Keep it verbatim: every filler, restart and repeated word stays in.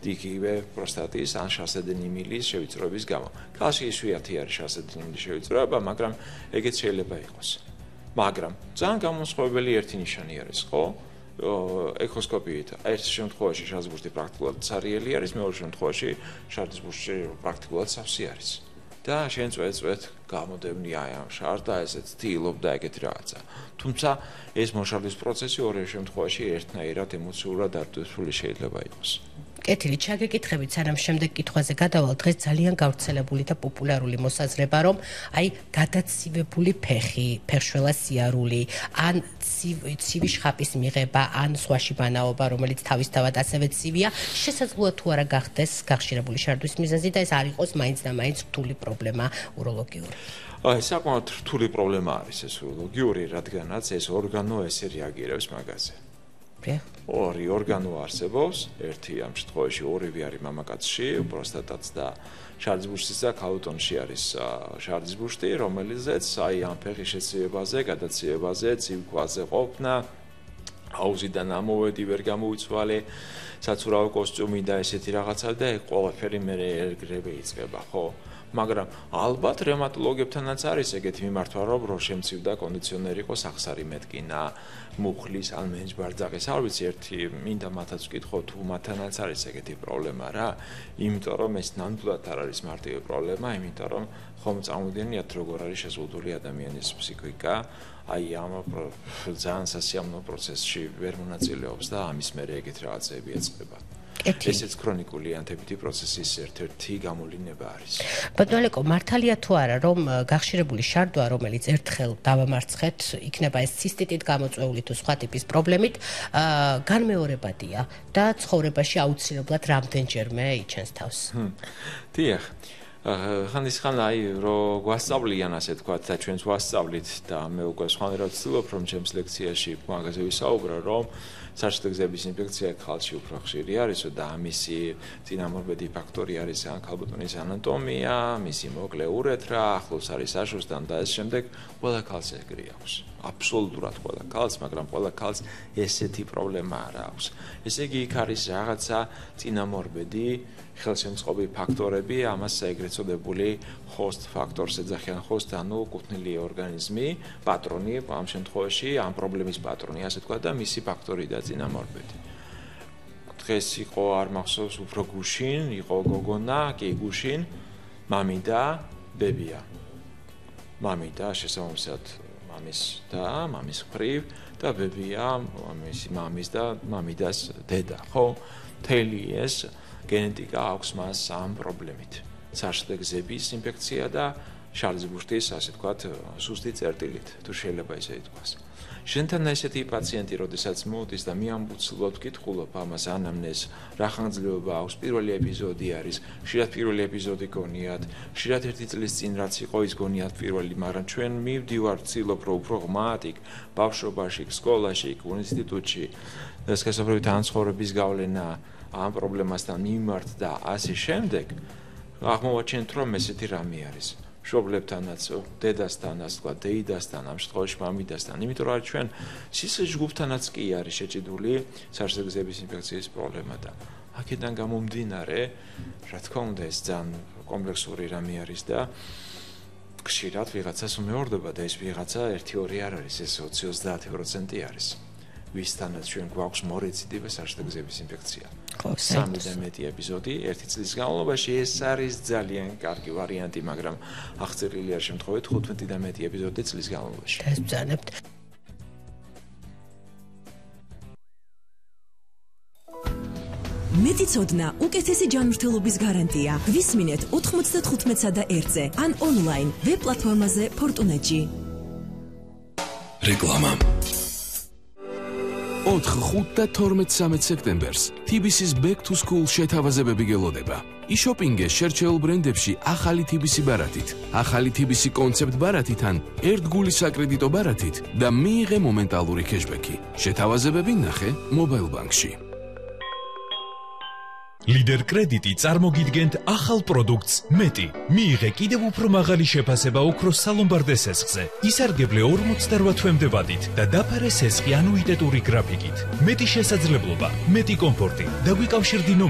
იგივე პროსტატის ან შასედენი მილის შევიწროების გამო. ქალში იშვიათი არის შასედენი მილის შევიწროება, მაგრამ ეგეც შეიძლება იყოს. მაგრამ ძალიან გამოსხივებელი ერთი ნიშანი არის, ხო? ეკოსკოპიით ერთ შემთხვევაში შარდისბურთი პრაქტიკულად ცარიელი არის, მეორე შემთხვევაში შარდისბურთი პრაქტიკულად სავსე არის. და შენ წვეწვეთ გამოდევნია ამ შარდს და ესეც თილობ და ეგეთი რაღაცა. თუმცა ეს მოშარდის პროცესი ორივე შემთხვევაში ერთნაირად ემოციურად დარწმუნებული შეიძლება იყოს. კეთილი, ჩაგეკითხებით, სანამ შემდეგ კითხვაზე გადავალ, დღეს ძალიან გავრცელებული და პოპულარული მოსაზრება, რომ აი გადაცივებული ფეხი, ფეხშველა სიარული, ან ცივი შხაპის მიღება, ან სხვაში ბანაობა, რომელიც თავისთავად ასევე ცივია, შესაძლოა თუ არა გახდეს გახშირებული შარდვის მიზეზი და ეს არ იყოს მაინც და მაინც რთული პრობლემა უროლოგიური. აი, საკმაოდ რთული პრობლემა არის ეს უროლოგიური, რადგანაც ეს ორგანო ესე რეაგირებს მაგაზე. ორი ორგანო არსებობს, ერთი ამ შემთხვევაში ორივე არის მამაკაცში, პროსტატაც და შარდისბურთის და ქალბატონში არის შარდისბურთი, რომელზეც აი ამ ფეხის შეცივებაზე, გადაცივებაზე, ცივქვაზე ყოფნა, აუზიდან ამოვედი, ვერ გამოუცვალე, საცურაო კოსტიუმი და ესეთი რაღაცა და ეგ ყველაფერი მე ერგრები იწყება, ხო? მაგრამ ალბათ რევმატოლოგებთანაც არის ეგეთი მიმართვა, რომ რო შემცივდა კონდიციონერი იყოს ახსარი მეტკინა, მუხლის ან მენჯბარძაღის, არ ვიცი, ერთი მინდა მათაც ვკითხო თუ მათთანაც არის ეგეთი პრობლემა რა, იმიტომ რომ ეს ნამდვილად არ არის მარტივი პრობლემა, იმიტომ რომ ხომ წამოვიდენიათ როგორ არის შეზღუდული ადამიანის ფსიქიკა, აი ამ ძალიან სასიამოვნო პროცესში ვერ მონაწილეობს და ამის მერე ეგეთ რაღაცები ეწყება. ესეც ქრონიკული ანთებითი პროცესის ერთ-ერთი გამოვლინება არის. ბატონო ლეკო, მართალია თუ არა, რომ გახშირებული შარდვა, რომელიც ერთხელ დავამარცხეთ, იქნება ეს ცისტიტით გამოწვეული თუ სხვა ტიპის პრობლემით, განმეორებადია და ცხოვრებაში აუცილებლად რამდენჯერმე იჩენს თავს. დიახ. ხანდისხან აი რო გვასწავლიან ასე თქვათ და ჩვენს ვასწავლით და მე უკვე სხვანაირად ვცდილობ რომ ჩემს ლექციაში მაგაზე ვისაუბრო რომ საშტეგზების ინფექცია ხალხში უფრო ხშირი არის და ამისი წინამორბედი ფაქტორი არის ან ქალბატონის ანატომია, მისი მოკლე ურეთრა, ახლოს არის საშოსთან და ეს შემდეგ ყველა ქალს ეგრე აქვს. აბსოლუტურად ყველა ქალს, მაგრამ ყველა ქალს ესეთი პრობლემა არ აქვს. ესე იგი იქ არის რაღაცა წინამორბედი ხელშემწყობი ფაქტორები, ამას ეგრეთ წოდებული host factors ეძახიან host, ანუ კუთვნილი ორგანიზმი, პატრონი, ამ შემთხვევაში ამ პრობლემის პატრონი, ასე თქვა და მისი ფაქტორი და წინამორბედი. დღეს იყო არ მახსოვს უფრო გუშინ, იყო გოგონა, კი გუშინ, მამი და ბებია. მამი და შესაბამისად მამის და მამის მხრივ და ბებია მისი მამის და მამიდას დედა, ხო? მთელი ეს გენეტიკა აქვს მას ამ პრობლემით. საშტეგზების ინფექცია და შარდისბურთის, ასე თქვათ, სუსტი წერტილით, თუ შეიძლება ისე ითქვას. შენთან ესეთი პაციენტი, როდესაც მოდის და მე ამბუცლოდ ვკითხულობ ამას ანამნეზს, რა ხანგრძლივობა აქვს, პირველი ეპიზოდი არის, ხშირად პირველი ეპიზოდი გონიათ, ხშირად ერთი წლის წინ რაც იყო ის გონიათ პირველი, მაგრამ ჩვენ მივდივარ ვცდილობ რომ უფრო ღმათ იქ ბავშვობაში, სკოლაში, ინსტიტუტში, სქესობრივი თანაცხოვრების გავლენა ამ პრობლემასთან მიმართ და ასე შემდეგ, აღმოვაჩენთ რომ ესეთი რამე არის. მშობლებთანაც, დედასთანაც, თქვა დეიდასთან, ამ შემთხვევაში მამიდასთან, იმიტომ რომ ჩვენ სისხლის ჯგუფთანაც კი არის შეჭიდული საშტეგზების ინფექციის პრობლემა და აქედან გამომდინარე, რა თქმა უნდა, ეს ძალიან კომპლექსური რამე არის და ხშირად ვიღაცას უმეორდება და ეს ვიღაცა ერთი ორი არ არის, ეს ოცი ოცდაათი პროცენტი არის. ვისთანაც ჩვენ გვაქვს მორეციდივე საშტეგზების ინფექცია. სამი და მეტი ეპიზოდი ერთი წლის განმავლობაში ეს არის ძალიან კარგი ვარიანტი, მაგრამ აღწერილი არ შემთხვევით ხუთმეტი და მეტი ეპიზოდი წლის განმავლობაში. დასბძანებთ. მეტიცოდნა უკეთესი ჯანმრთელობის გარანტია. გვისმინეთ ოთხმოცდათხუთმეტსა და ერთზე ან ონლაინ ვებ პლატფორმაზე Fortunet-ში. რეკლამა ოთხ, ხუთ და თორმეტ სამეც სექტემბერს T B C-ს Back to School შეთავაზებები გელოდება. იშოპინგე შერჩეულ ბრენდებში ახალი T B C ბარათით, ახალი T B C კონცეპტ ბარათიდან, ერთგული საკრედიტო ბარათით და მიიღე მომენტალური cashback-ი. შეთავაზებები ნახე Mobile Bank-ში. ლიდერ კრედიტი წარმოგიდგენთ ახალ პროდუქტს მეტი. მიიღე კიდევ უფრო მაღალი შეფასება ოქროს სალომბარდე სესხზე. ისარგებლე ორმოცდაოთხ თვემდე ვადით და დაფარე სესხი ანუიტეტური გრაფიკით. მეტი შესაძლებლობა, მეტი კომფორტი. დაგვიკავშირდი